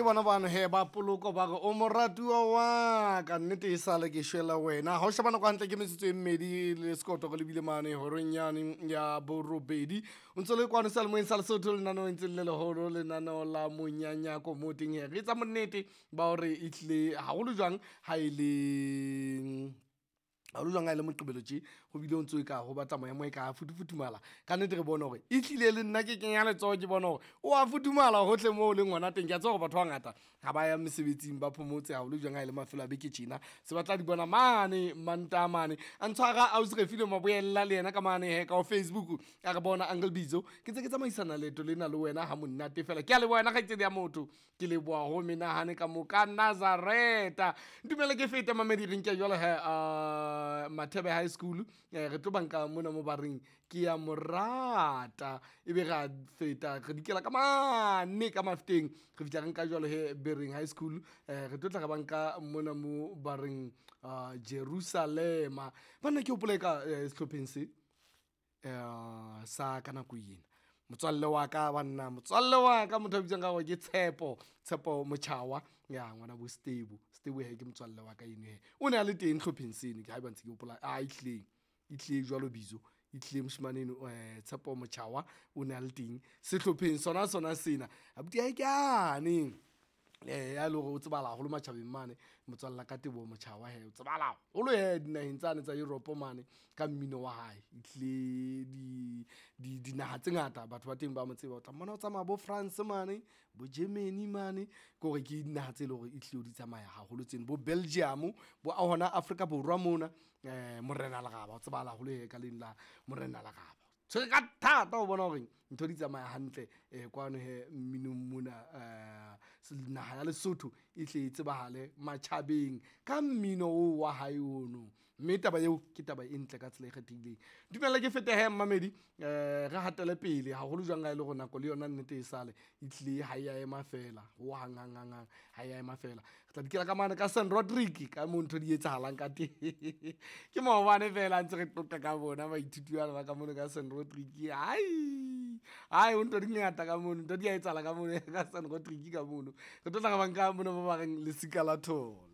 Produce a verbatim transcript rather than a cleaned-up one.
Ke bona bano he ba poloko ba re o moratuwa wa ka, nnete e sale ke shwela wena. Ha o sheba nako hantle ke metsotso e mmedi le sekoto re lebile mane horeng yane ya borobedi. O ntso le kwano seyalemoyeng sa Lesotho, lenaneo ntse le leholo, lenaneo la monyanyako mo teng he re etsa bonnete ba hore e tlile haholo jwang ha e le haholo jwang ha e le Moqebelo tje, ho bile o ntso e ka ho batla maemo e ka futufuthumala. Ka nnete re bone hore e hlile le nna ke kenya letsoho, ke bona hore o a futhumala hohle moo o leng hona teng. Ke a tseba hore batho ba bangata ha ba ya mesebetsing, ba phomotse haholo jwang ha e le mafelo a beke tjena, se ba tla di bona mane Mantaha mane. A ntshwara ausi Refilwe Maboella le yena ka mane he ka ho Facebook, a re bona Uncle Bizo ke ntse ke tsamaisana leeto lena le wena ha monate fela. Ke a leboha wena kgaitsedi ya motho, ke leboha ho menahane ka mo ka Nazareta. Ntumelle ke fete mamedi, re nke jwalo he uh, Mathebe High School, eh, re tlo banka mona mo ba reng ke ya morata, ebe ra feta re dikela ka mane ka Mafeteng, re fihla re nka jwalo he Bereng High School, eh, re tlo tla re banka mona mo ba reng uh, Jerusalema. Banna ke hopola ka eh, sehlopheng se eh, sa ka nako ena motswalle wa ka, banna motswalle wa ka motho a bitswang ka hore ke Tshepo, Tshepo Motjhawa ya ngwana bo Stebo. Stebo he ke motswalle wa ka eno he, o ne a le teng hlopheng seno, ke haeba ntse ke hopola. A ehlileng e tlile jwalo bizo, e tlile moshemane eno eh, Tshepo Motjhawa o ne a le teng sehlopheng sona sona sena. Abuti hae ke ane eh ya le hore o tsebala haholo matjhabeng mane, motswalla ka Teboho Motjhawa he o tsebala haholo he dinaheng tsane tsa Europe mane ka mmino wa hae. E tlile di di dinaha tse ngata batho ba teng ba mo tseba, o tla mmona o tsamaya bo France mane, bo Germany mane, ke hore ke dinaha tse leng hore e tlile di tsamaya haholo tseno, bo Belgium, bo hona Afrika Borwa mona. Eh Morena Leraba o tsebala haholo he ka leng la Morena Leraba, tshwere ka thata ho bona hore ntho di tsamaya hantle eh kwano he mminong mona. Eh naha ya Lesotho e tle e tsebahale matjhabeng ka mmino oo wa hae ono, mme taba eo ke taba e ntle ka tsela e kgethehileng. Dumella ke fete he mmamedi, eh re hatele pele haholo jwang ha e le hore nako le yona nnete e sale e tlile ha ya ema fela ho hang hang hang hang, ha ya ema fela. Re tla dikela ka mane ka Saint Rodrick ka moo ntho di etsahalang ka teng. Ke maobane fela ntse re qoqa ka bona baithuti bana ba ka mono ka Saint Rodrick. Ai ai o ntho di ngata ka mono, ntho di a etsahala ka mono ka Saint Rodrick ka mono. Re tlo tla re banka mono ba ba reng lesika la tholo.